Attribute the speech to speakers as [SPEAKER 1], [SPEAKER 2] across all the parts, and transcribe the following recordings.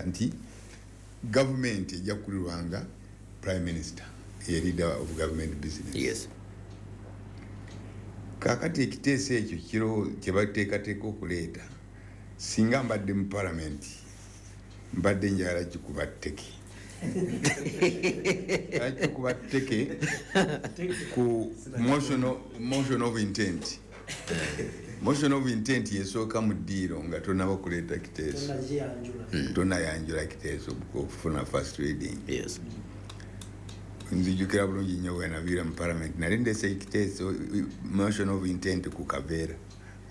[SPEAKER 1] Bateesa nti gavumenti ejja kukulirwanga prime minister, ye leader of government business. Kakati ekiteeso ekyo kiro kyebateekateeka okuleeta, singa mbadde mu palamenti, mbadde njagala kikuba tteke, kikuba tteke ku motion of intent. Motion of intent yesooka mu ddiiro nga tonaba kuleeta kiteeso.
[SPEAKER 2] Tonaziyanjula.
[SPEAKER 1] Tonayanjula kiteeso okufuna first reading. Nzijukira bulungi nnyo bwe naviira mu parliament, nali ndese ekiteeso, motion of intent, ku kaveera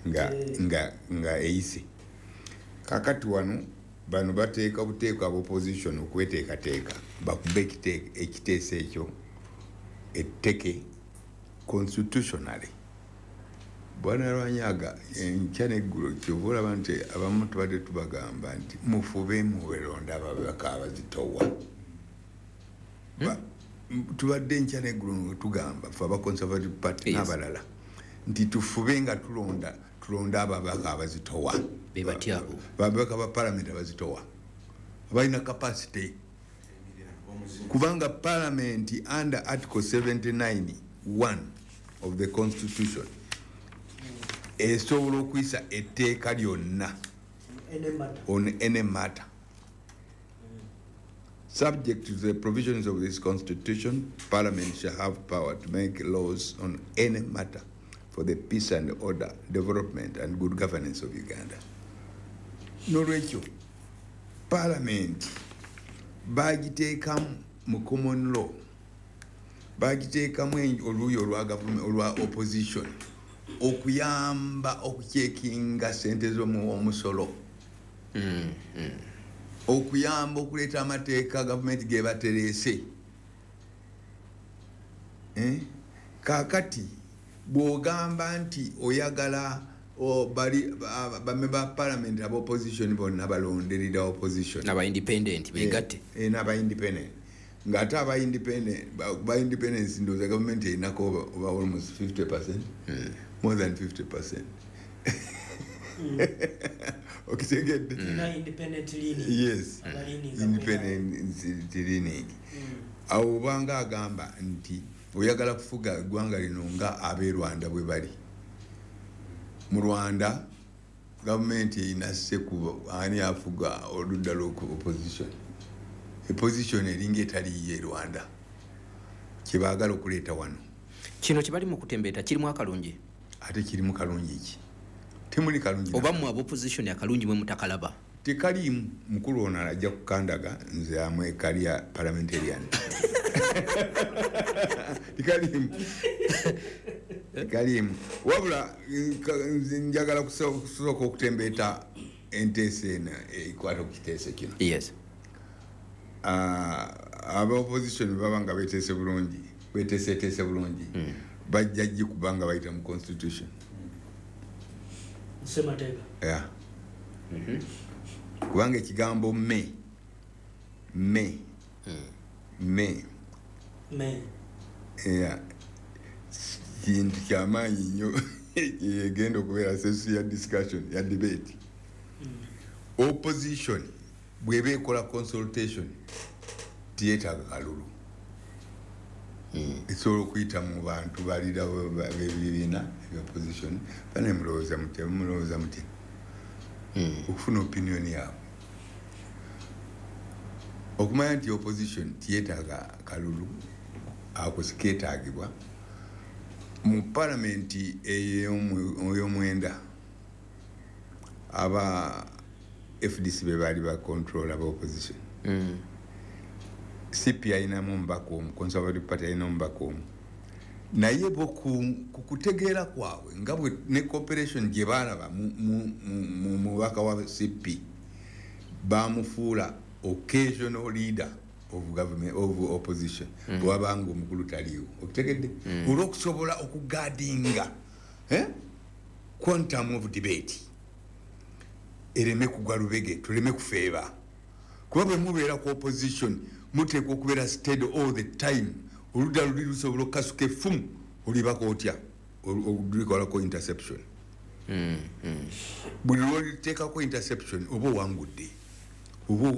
[SPEAKER 1] nga, nga eyise. Kakati wano bano bateeka buteeka aba opposition okweteekateeka bakube ekiteeso ekyo etteke constitutionally. Bwana Lwanyaga, enkya neggulo kyova olaba nti abamu tubadde tubagamba nti mufube muberonda ababaka abazitowa. Tubadde enkya neggulo nga tugamba fe aba Conservative Party n'abalala nti tufube nga tulonda, tulonde ababaka abazitowa.
[SPEAKER 3] Be batya abo?
[SPEAKER 1] Babaka ba parliament abazitowa, abalina capacity, kubanga parliament under article 79 1 of the constitution esobola okuyisa etteeka lyonna
[SPEAKER 2] any matter.
[SPEAKER 1] On any matter. Subject to the provisions of this constitution, parliament shall have power to make laws on any matter for the peace and order, development and good governance of Uganda. Nolwekyo parliament bagiteekamu mu common law, bagiteekamu oluuyi olwa government, olwa opposition, okuyamba okucheckinga sente z'omuwomusolo, okuyamba okuleeta amateeka gavumenti gebatereese. Eh? Kaakati bw'ogamba nti oyagala bali bamemba ba parliament aba opposition bonna balonde leader opposition.
[SPEAKER 3] Naba independent begatte.
[SPEAKER 1] Eh, n'aba independent, ng'ate aba independent ba independence, ndowooza gavumenti erinako oba almost 50%, more than 50%, okitegedde?
[SPEAKER 2] Tulina independent leaning.
[SPEAKER 1] Yes.
[SPEAKER 2] Abaleaning.
[SPEAKER 1] Independent leaning. Awo obanga agamba nti oyagala kufuga eggwanga lino nga ab'e Rwanda bwe bali. Mu Rwanda gavumenti erina sekubo ani afuga oludda lw'oku opposition. Opposition eringa etaliiyo e Rwanda, kyebaagala okuleeta wano.
[SPEAKER 3] Kino kye bali mu kutembeeta kirimu akalungi?
[SPEAKER 1] Ate kirimu kalungi ki? Temuli kalungi.
[SPEAKER 3] Oba mmwe aba opposition akalungi mwe mutakalaba?
[SPEAKER 1] Tekaliimu. Mukulu ono ajja kukandaga nze amwe career parliamentarian. Tekaliimu, tekaliimu. Wabula nze njagala kusooka okutembeeta enteesa eno ekwata ku kiteeso kino. Ah, aba opposition baba nga beteese bulungi, beteeseteese bulungi, bajja gikuba nga bayita mu constitution.
[SPEAKER 2] Ssemateeka.
[SPEAKER 1] Yeah. Kubanga ekigambo may, may
[SPEAKER 2] may.
[SPEAKER 1] Yeah. Kintu kyamaanyi nnyo egenda okubeera sensu ya discussion, ya debate. Opposition bweba ekola consultation tiyetaaga kalulu, esobola okuyita mu bantu balira bebibiina ebya opposition bane, mulowooza mutya, mulowooza mutya, okufuna opinion yaabwe, okumanya nti opposition tiyetaaga kalulu. Ako sikeetaagibwa mu palamenti ey'omwenda. Aba FDC be baali ba control aba opposition. CP ayinamu omubaka omu, Conservative Party ayina omubaka omu, naye bo ku kutegeera kwabwe nga bwe ne cooperation gye baalaba mu mubaka wa CP, bamufuula occasional leader of government, of opposition, bwewabanga omukulu taliiwo, okitegedde? Olwokusobola okuguardinga, eh? Quantum of debate ereme kugwa lubege, tuleme kufeeba, kuba bwe mubeera ku opposition muteekwa okubeera steady all the time. Oludda luli lusobola okukasuka effumu, olibako otya? Olukolako interception. Buli lwoliteekako interception oba owangudde, oba